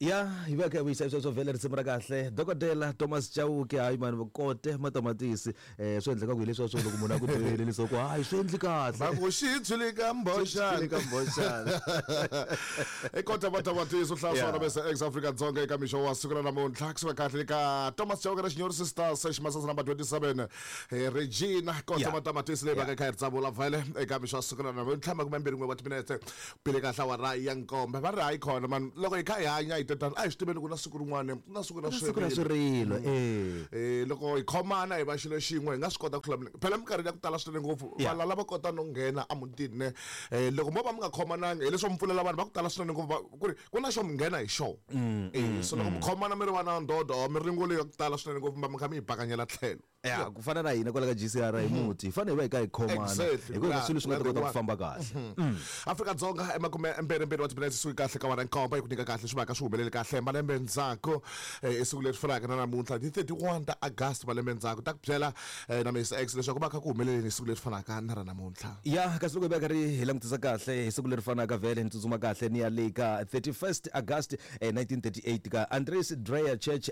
Ya hi va kha hi vuyisa sweswo vhele risimu ra kahle dokodela Thomas Chauke hayi mani kote matamatisi swi endleka ku hi leswiya swo loko munhu a ku byele leswaku hayi swi endli kahle va ku xi tshwile ka mbhoxana ka mbhoxana i kota matamatisi u hlaya swona bese ex Afrika Dzonga eka mixo wa siku ra namuntlha kusuka kahle ka Thomas Chauke na Xinyori Sisters Ximasasa number 27 Regina kota matamatisi leyi va ka kha yi ri tsavula vhele eka mixo wa siku ra namuntlha 21 wa timinete Pele kahle awara ya nkombe va ri hayi khona mani loko hi kha hi hanya hi tetana a hi swi tiveni ku na siku rin'wana ku na siku ra siku ra swirilo loko hi khomana hi va xilo xin'we hi nga swi kota ku hlula phela minkarhini ya ku tala swinene ngopfu valala va kota no nghena emutini ne loko mo va mi nga khomananga hileswo mi pfulela vanhu va ku tala swinene ngopfu ku ri ku na xo mi nghena hi xona so loko mi khomana mi ri vana ndodo miringo leyi ya ku tala swinene ngopfu mi va mi kha mi yi bakanyela tlhelo. Ya ku fana na hina kwala ka GCR hi muti hi fanele hi va hi kha hi khomana Exactly. hi kona swilo swi nga ta We are kota the ku one. famba kahle. Afrika-Dzonga emakume mbirhi wa timinetse suki kahle ka wara nkombo yi ku nyika kahle swi vaka swi humelele kahle malembe ndzhaku i siku leri fanaka na namuntlha ti 31 ta August malembe ndzhaku ta ku byela na Miss X leswaku va kha ku humeleleni hi siku leri fanaka na ra namuntlha. Ya kasi loko hi va karhi hi langutisa kahle hi siku leri fanaka vhele ni tsutsuma kahle ni ya le ka 31st August 1938 ka Andries Dreyer Church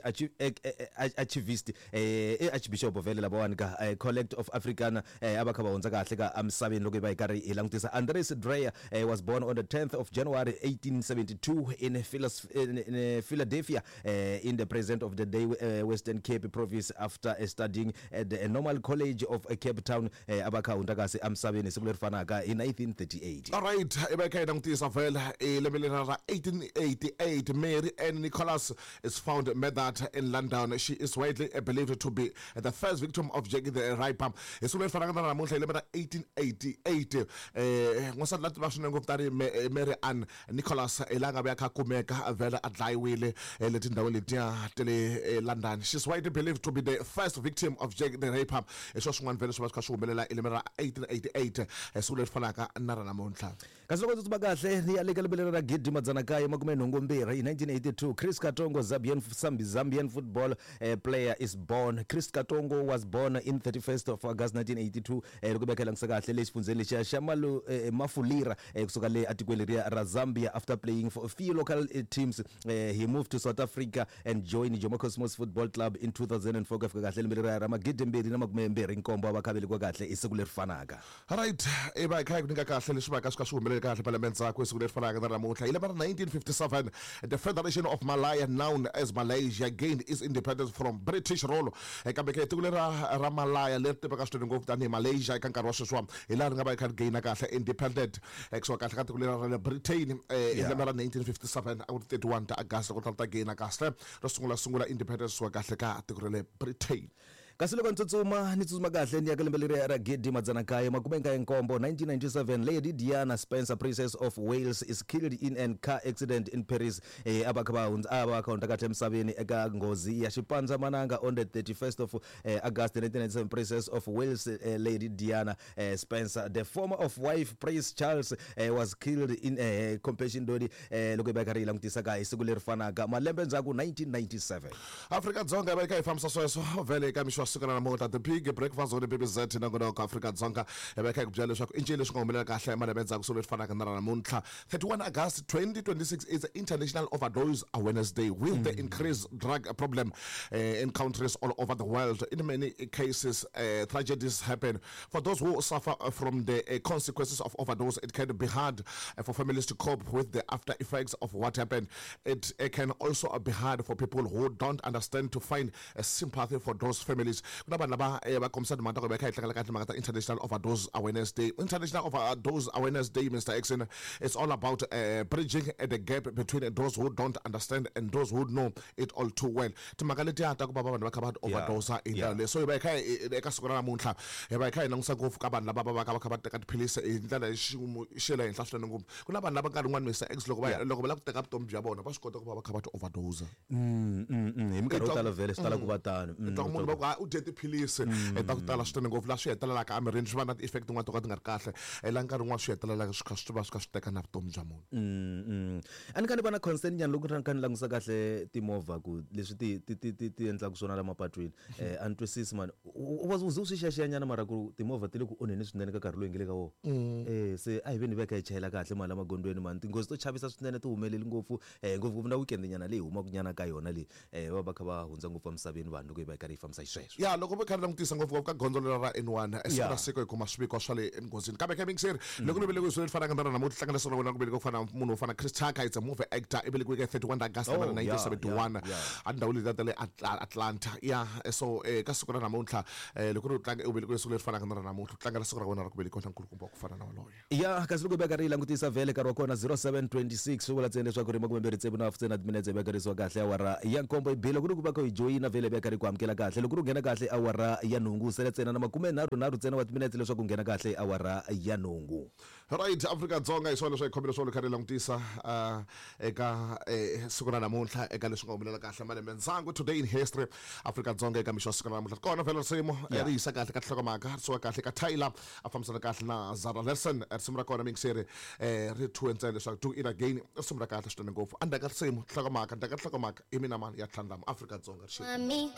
Archivist I Archbishop vhele lavawani ka Collect of Africana a va kha va hundza kahle ka emisaveni loko hi va hi karhi hi langutisa. Andries Dreyer was born on the 10th of January 1872 in in Philadelphia in the present of the day Western Cape Province after studying at the Normal College of Cape Town a va kha hundza kahle emisaveni hi siku leri fanaka hi 1938. Alright, i va hi kha hi langutisa vhele i lembe leri ra 1888 Mary Ann Nicholas is found murdered in London. She is widely believed to be the first victim of Jack the Ripper. Hi siku leri fanaka na namuntlha hi lembe ra 1888, n'wansati la tiva swinene ngopfu tanihi Mary Ann Nicholas hi laha nga vuya kha kumeka vhele a dlayiwile le tindhawini letiya ta le London. She is widely believed to be the first victim of Jack the Ripper. Hi swona swin'wana vhele swi va swi kha swi humelela hi lembe ra 1888, hi siku leri fanaka na ra namuntlha. Kasi loko ndzi tsutsuma kahle ni ya le ka lembe leri ra 1982, hi 1982, Chris Katongo, Zambian, Zambian football player is born. Chris Katongo was born in 31st of August 1982, loko hi langutisa kahle le xifundzheni lexiya xa Malu, Mafulira, kusuka le atikweni leriya ra Zambia. After playing for a few local teams, he moved to South Africa and joined Jomo Cosmos Football Club in 2004. Ku ya fika kahle lembe leriya ra 2027 a va kha velekiwa kahle hi siku leri fanaka. Right, i va hi kha hi ku nyika kahle leswi va ka swi kha swi humelele kahle malembe ndzhaku hi siku leri fanaka na namuntlha. Hi lembe ra 1957, the Federation of Malaya, known as Malaysia, gained its independence from British rule. Kambe ke tiko leri ra Malaya leri tiveka swinene ngopfu tanihi Malaysia eka nkarhi wa sweswiwa hi laha ri nga va yi kha ri gaina kahle independent kusuka kahle ka tiko leri ra le Britain hi lembe ra 1957 a ku ri 31 ta August loko ta gaina kahle ro sungula sungula independence kusuka kahle ka tiko ra le Britain. Kasi loko ni tsutsuma, ni tsutsuma kahle ni ya ka lembe leriya ra 1997, 1997, Lady Diana Spencer, Princess of Wales, is killed in an car accident in Paris. A va kha va hundza, a va kha hundza kahle emisaveni eka nghozi ya xipandzamananga on the 31st of August 1997, Princess of Wales Lady Diana Spencer, the former of wife Prince Charles, was killed in compassion dodi loko hi va hi karhi hi langutisa ka hi siku leri fanaka malembe ndzhaku 1997. Afrika-Dzonga yi va yi kha yi fambisa sweswo vhele eka mixo wa siku ra namuntlha. The Big Breakfast on BBZ nongonoko Afrika-Dzonga yi va yi kha yi ku byela leswaku i ncini leswi nga humelela kahle malembe endzhaku siku leri fanaka na ra namuntlha. 31 August 2026 is International Overdose Awareness Day. With the increased drug problem in countries all over the world, in many cases tragedies happen. For those who suffer from the consequences of overdose, it can be hard for families to cope with the after effects of what happened. It can also be hard for people who don't understand to find sympathy for those families. Ku na vanhu lava va kombisa timhaka ta ku va kha hi tlangela kahle timhaka ta International Overdose Awareness Day. International Overdose Awareness Day, Mr. Exen, it's all about bridging the gap between those who don't understand and those who know it all too well. Timhaka letiya ta ku va vanhu va kha va overdose hi ndlela leyi. So hi va hi kha hi eka siku ra namuntlha hi va hi kha hi langutisa ngopfu ka vanhu lava va va ka va kha va teka tiphilisi hi ndlela ya xiyimo xa le henhla swinene ngopfu. Ku na vanhu lava nkarhi wun'wani Mister X loko va loko va lava ku teka vutomi bya vona va swi kota ku va va kha va ti overdose. Hi minkarhi yo tala vhele swi tala ku va tano. U twa munhu va ku hayi u dye tiphilisi ta ku tala swinene ngopfu laha swi hetelelaka emirini swi va na ti-effect tin'wana to ka ti nga ri kahle laha nkarhi wun'wani swi hetelelaka swi kha swi va swi kha swi teka na vutomi bya munhu. A ni kha ni va na concern nyana loko ni kha ni langutisa kahle timovha ku leswi ti ti ti ti ti endlaka swona la mapatwini. A ni twisisi mani. U ze u swi xiyaxiya nyana mara ku timovha ti le ku onheni swinene ka nkarhi lowu hi nge le ka wona. Se a hi veni hi va hi kha hi chayela kahle mali la magondzweni mani. Tinghozi to chavisa swinene ti humeleli ngopfu ngopfungopfu na weekend nyana leyi humaka nyana ka yona leyi. Va va kha va hundza ngopfu emisaveni vanhu loko hi va hi karhi hi fambisa xisweswo. Ya loko mi kha ni langutisa ngopfungopfu ka gondzo lera ra N1 siku na siku hi kuma swiviko swa le enghozini kambe ka mixeri loko ni velekiwe swilo fanaka na namuntlha hlangana sona wena ku velekiwa ku fana munhu wo fana Chris Tucker it's a movie actor i velekiwe ka 31 August Oh, 1971 yeah, yeah. endhawini letiya ta le Atlanta ya so ka siku ra namuntlha loko ri u tlanga u velekiwe siku leri fanaka na ra namuntlha u tlangela siku ra wena ra ku velekiwa na nkulukumba wa ku fana na waloye. Ya kasi loko hi veka ri yi langutisa vhele nkarhi wa kona 07:26 swi vula ntsena leswaku ri makumembirhi tsevu na hafu ntsena timinetse hi vekarisiwa kahle awara ya nkombo yi bile ku ri ku va kha hi joyina vhele hi veka ri ku amukela kahle loko ri nghena kahle awara ya nhungu sele ntsena na makume nharhu nharhu ntsena wa timinetse leswaku nghena kahle awara ya nhungu. Right, Afrika-Dzonga hi swona leswi hi khomile swona kha ri langutisa eka siku ra namuntlha eka leswi nga humelela kahle malembe ndzhaku today in history Afrika-Dzonga eka mixo wa siku ra namuntlha kona vhele risimu ri yisa kahle ka nhlokomhaka ri suka kahle ka Tyler a fambisana kahle na Zara Larsson risimu ra kona miyingiseri ri thyiwe ntsena leswaku do it again i risimu ra kahle swinene ngopfu endzhaku ka risimu nhlokomhaka ndzhaku ka nhlokomhaka i mina mani ya tlhandlama Afrika-Dzonga ri xi Mami.